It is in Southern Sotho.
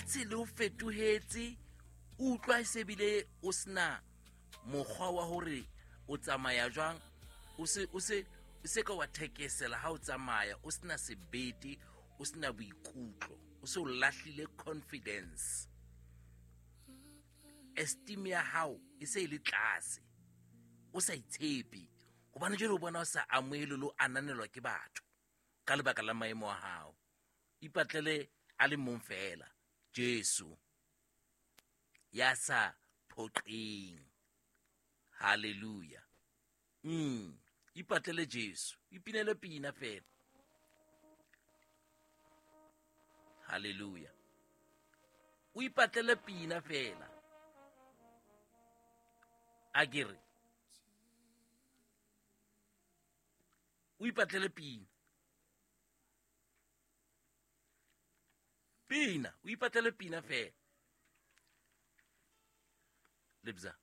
Lefatshe le o fetohetse, o utlwa e se bile o sena mokgwa wa hore o tsamaya jwang, o se o se o se ka wa thekesela ha o tsamaya, o sena sebete, o sena boikutlo, o se o lahlile confidence, esteem ya hao e se e le tlase, o sa itshepe, hobane jwale o bona o sa amohelwe le o ananelwa ke batho ka lebaka la maemo a hao. Ipatlele a le mong fela, Jesu ya sa phoqeng. Hallelujah. Ipatlele Jesu, ipinele pina fela. Hallelujah. O ipatlele pina fela. A ke re o ipatlele pina. Pina, o ipatlele pina fela. Lebza.